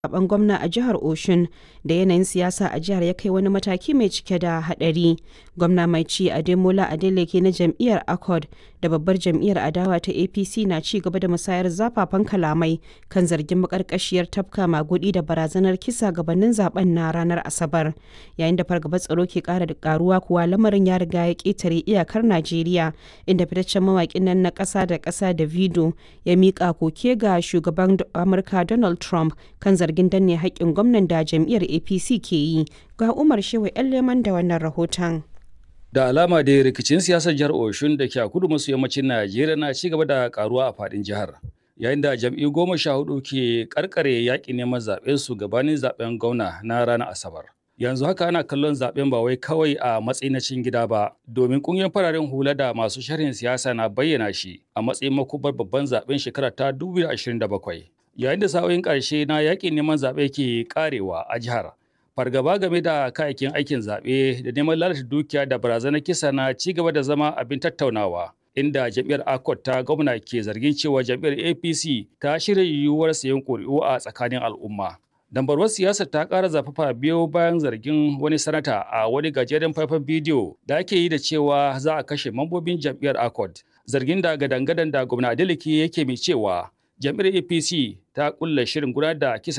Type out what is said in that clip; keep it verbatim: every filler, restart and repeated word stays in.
Zaɓen gwamna a jihar Osun da yanayin siyasa a jihar ya kai wani mataki mai cike da haɗari. Gwamna mai ci Ademola Adeleke na jam'iyyar Accord da babbar jam'iyyar adawa ta A P C na ci gaba da musayar zafafan kalamai kan zargin maƙarƙashiyar tafka maguɗi da barazanar kisa gabanin zaben na ranar Asabar. Yayin da fargabar tsaro ke ƙara karuwa kuwa, lamarin ya riga ya ƙetare iyakar Najeriya, inda fitaccen mawaƙin nan na ƙasa da ƙasa Davido ya miƙa koke ga shugaban Amurka Donald Trump kan zargin danne haƙƙin gwamnan da jam'iyyar A P C ke yi. Ga Umar Shehu 'Yan Leman da wannan rahoton. Da alama dai rikicin siyasar jihar Oshun da ke a kudu maso yammacin Najeriya na ci gaba da karuwa a fadin jihar. Yayin da jam'iyyu goma sha hudu ke karkare yaƙin neman zaɓen su gabanin zaɓen gwamna na ranar Asabar. Yanzu haka ana kallon zaɓen ba wai kawai a matsayin na cikin gida ba, domin ƙungiyar fararen hula da masu sharhin siyasa na bayyana shi a matsayin makubar babban zaɓen shekara ta dubu biyu da ashirin da bakwai. Yayin da sa'o'in ƙarshe na yaƙin neman zaɓe ke ƙarewa a jihar, fargaba game da kayayyakin aikin zaɓe da neman lalata dukiya da barazanar kisa na ci gaba da zama abin tattaunawa, inda jam'iyyar Accord ta gwamna ke zargin cewa jam'iyyar A P C ta shirya yiwuwar sayan ƙuri'u a tsakanin al'umma. Dambarwar siyasar ta ƙara zafafa biyo bayan zargin wani sanata a wani gajeren faifan bidiyo da ake yi da cewa za a kashe mambobin jam'iyyar Accord, zargin da gadangadan da gwamna Adeleke yake mai cewa jam'iyyar A P C ta kulla shirin gudanar da kisa.